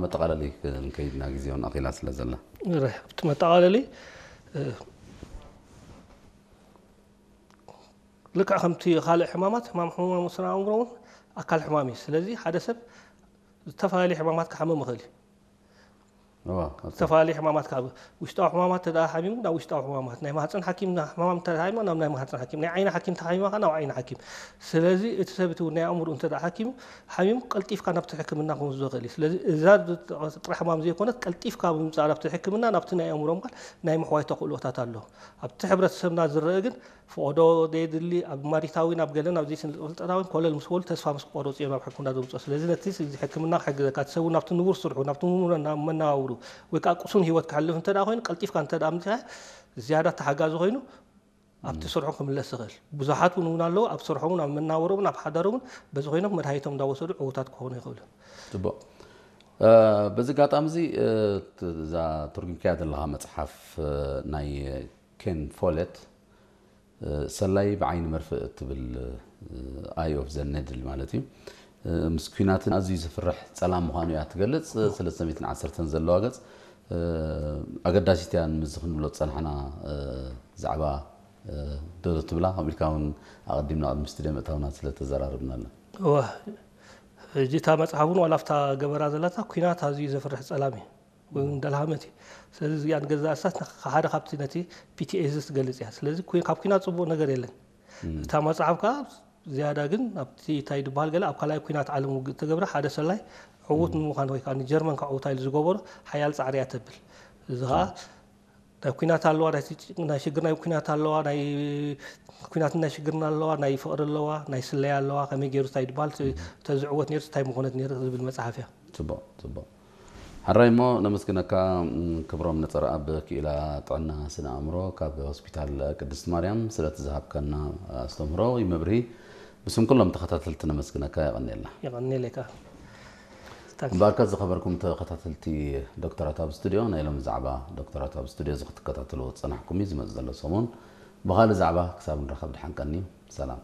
መጠቓለሊ ክንከይድና ግዜ እውን ኣኺላ ስለ ዘላ። ርሕ ኣብቲ መጠቓለሊ ልክዕ ከምቲ ካልእ ሕማማት ሕማም ሕሙማም ስነ ኣእምሮ እውን ኣካል ሕማም እዩ። ስለዚ ሓደ ሰብ ዝተፈላለዩ ሕማማት ክሓምም ይኽእል እዩ። ዝተፈላለዩ ሕማማት ካብ ውሽጣዊ ሕማማት ተደኣ ሓሚሙ ናብ ውሽጣዊ ሕማማት፣ ናይ ማህፀን ሓኪም ሕማም ተሓሚማ ናብ ናይ ማህፀን ሓኪም፣ ናይ ዓይኒ ሓኪም ተሓሚማ ናብ ዓይኒ ሓኪም። ስለዚ እቲ ሰብ እቲ ናይ ኣእምሮ እንተ ሓኪሙ ሓሚሙ ቀልጢፍካ ናብቲ ሕክምና ክወስዶ ይኽእል እዩ። ስለዚ እዛ ጥራሕ ሕማም ዘይኮነት ቀልጢፍካ ብምምፃእ ናብቲ ሕክምና ናብቲ ናይ ኣእምሮ ምካል ናይ ምሕዋይ ተኽእሎታት ኣሎ። ኣብቲ ሕብረተሰብና ዝረአ ግን ፈቐዶ ደየድሊ ኣብ ማሪታዊ ናብ ገለን ኣብ ዘይስልጠታዊ ኮለል ምስ በሉ ተስፋ ምስ ቆረፁ እዮም ናብ ሕክምና ዘምፅኦ። ስለዚ ነቲ ሕክምና ክሕግዘካ እቲ ሰብ ናብቲ ንቡር ስርሑ ናብቲ ንቡር መናዋውሩ ወይ ከዓ ቅሱን ህይወት ክሕልፍ እንተ ኮይኑ ቀልጢፍካ እንተ ምፅኻ ዝያዳ ተሓጋዚ ኮይኑ ኣብቲ ስርሑ ክምለስ ይኽእል። ብዙሓት እውን እውን ኣለዉ ኣብ ስርሖምን ኣብ መናወሮምን ኣብ ሓዳሮምን በዚ ኮይኖም መድሃኒቶም እንዳወሰዱ ዕውታት ክኾኑ ይኽእሉ። ፅቡቅ። በዚ ኣጋጣሚ እዚ እዛ ትርጉምካያ ዘለካ መፅሓፍ ናይ ኬን ፎለት ሰላይ ብዓይኒ መርፍእ እትብል ኣይ ኦፍ ዘ ነድል ማለት እዩ። ምስ ኩናትን ኣዝዩ ዘፍርሕ ጸላም ምዃኑ እያ ትገልጽ። ሰለስተ ሚእትን ዓሰርተን ዘለዋ ገጽ ኣገዳሲት እያ። ንምዚ ክንብሎ ዝጸናሕና ዛዕባ ዶ ትብላ ከምኡ ኢልካ እውን ኣቐዲምና ቅድሚ ስቱድዮ ምእታውና ስለ ተዘራረብናላ። እዋ ሕጂ እታ መጽሓፍ እውን ዋላ ኣብታ ገበራ ዘላታ ኩናት ኣዝዩ ዘፍርሕ ጸላም እዩ ወይ እውን ደልሃመት እዩ። ስለዚ እዚኣ ንገዛእ እሳት ሓደ ካብቲ ነቲ ፒ ቲ ኤስ ዲ ትገልጽ እያ። ስለዚ ካብ ኩናት ጽቡቕ ነገር የለን። እታ መጽሓፍ ከዓ ዝያዳ ግን ኣብቲ እንታይ ዝበሃል ገለ ኣብ ካልኣይ ኩናት ዓለም ውግእ እተገብረ ሓደ ሰላይ ዕዉት ንምዃን ወይ ከዓ ንጀርመን ከዕውታ ኢሉ ዝገበሮ ሓያል ፃዕሪ እያ ተብል። እዚ ከዓ ናይ ኩናት ኣለዋ ናይ ሽግር ናይ ኩናት ኣለዋ ናይ ኩናት ናይ ሽግርና ኣለዋ ናይ ፍቅሪ ኣለዋ ናይ ስለያ ኣለዋ ከመይ ገይሩ እንታይ ዝበሃል ተዝዕወት ነይሩ እንታይ ምኾነት ነይሩ ዝብል መፅሓፍ እያ። ፅቡቅ ፅቡቅ። ሕራይ እሞ ነመስግነካ። ክብሮም ነፀረኣብ ክኢላ ጥዕና ስነ ኣእምሮ ካብ ሆስፒታል ቅድስት ማርያም ስለቲ ዝሃብካና ኣስተምህሮ ወይ መብርሂ ብስም ኩሎም ተኸታተልቲ ነመስግነካ። የቐንየልና። የቐንየለይ ከዓ። እምበኣርከ ዝኸበርኩም ተኸታተልቲ ዶክተራት ኣብ ስቱድዮ ናይ ሎም ዛዕባ ዶክተራት ኣብ ስቱድዮ እዚ ክትከታተልዎ ዝፀናሕኩም እዩ። ዝመፅ ዘሎ ሰሙን ብኻልእ ዛዕባ ክሳብ ንራኸብ ድሓን ቀንዩ ሰላም።